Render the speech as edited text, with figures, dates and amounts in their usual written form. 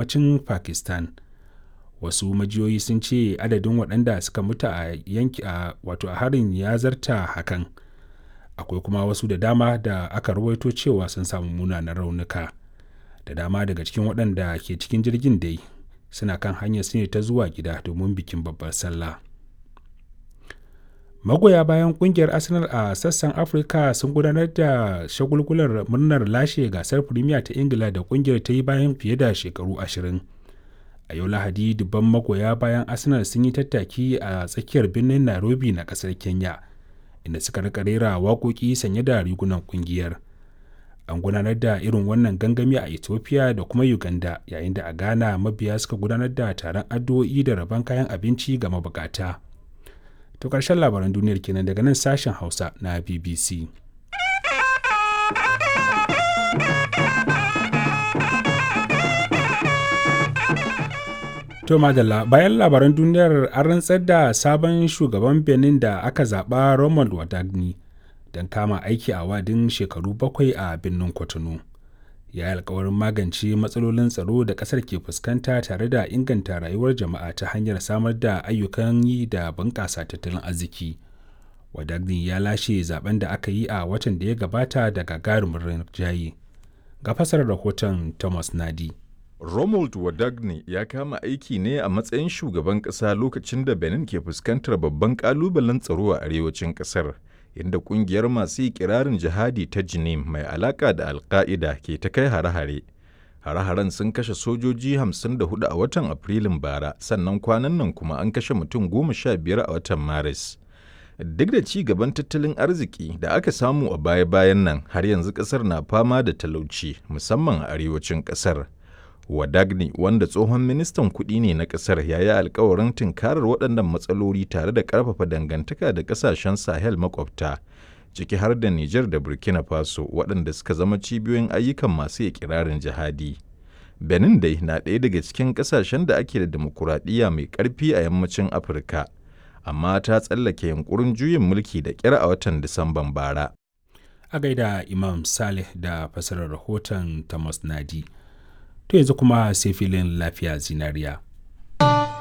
Yammacin Pakistan. Wasu majiyoyi sun ce adadin waɗanda suka mutu a harin ya zarta hakan. Akwai kuma wasu da dama da aka ruwaito cewa sun sami munanan raunuka. Da dama daga cikin waɗanda ke cikin jirgin dai suna kan hanyarsu ne ta zuwa gida domin bikin Babbar Sallah. Magoya bayan kungiyar Arsenal a sassan Afirka sun gudanar da shagulgulan murnar lashe gasar Firimiya ta Ingila da kungiyar ta yi bayan fiye da shekaru 20. A yau Lahadi dubban magoya bayan Arsenal sun yi tattaki a tsakiyar birnin Nairobi na kasar Kenya, inda suka rika rera waƙoƙi sanye da rigunan kungiyar. An gudanar da irin wannan gangami a Ethiopia da kuma Uganda, yayin da a Ghana mabiya suka gudanar da taron addu'o'i da rabon kayan abinci ga mabukata. To ƙarshen labaran duniyar kenan daga nan sashen Hausa na BBC. To madalla, bayan labaran duniyar, an rantsar da sabon shugaban Benin da aka zaɓa, Romuald Wadagni, don kama aiki a wa'adin shekaru 7 a birnin Cotonou. Ya yi alkawarin magance matsalolin tsaro da ƙasar ke fuskanta tare da inganta rayuwar jama'a ta hanyar samar da ayyukan yi da bunƙasa tattalin arziki. Wadagni ya lashe zaben da aka yi a watan da ya gabata da gagarumin rinjaye. Ga fasarar rahoton Thomas Nadi. Romuald Wadagne ya kama aiki ne a matsayin shugaban ƙasa lokacin da Benin ke fuskantar babban ƙalubalen tsaro a arewacin ƙasar, inda ƙungiyar masu ikirarin jihadi ta Jinim mai alaƙa da Al-Qaida ke ta kai hare-hare. Hare-haren sun kashe sojoji 54 a watan Afrilun bara, sannan kwanan nan kuma an kashe mutum 15 a watan Maris. Duk da ci gaban tattalin arziki da aka samu a baya-bayan nan, har yanzu ƙasar na fama da talauci, musamman a arewacin ƙasar. Wadagni, wanda tsohon ministan kuɗi ne na ƙasar, ya yi alkawarin tunkarar waɗannan matsaloli tare da ƙarfafa dangantaka da ƙasashen Sahel makwabta, ciki har da Nijar da Burkina Faso, waɗanda suka zama cibiyoyin ayyukan masu ikirarin jihadi. Benin dai na ɗaya daga cikin ƙasashen da ake da dimokuraɗiyya mai ƙarfi a yammacin Afirka, amma ta tsallake yunƙurin juyin mulki da ƙyar a watan Disamban bara. A gaida Imam Saleh da fasarar rahoton Thomas Nadi. To yanzu kuma sai filin Lafiya Zinariya.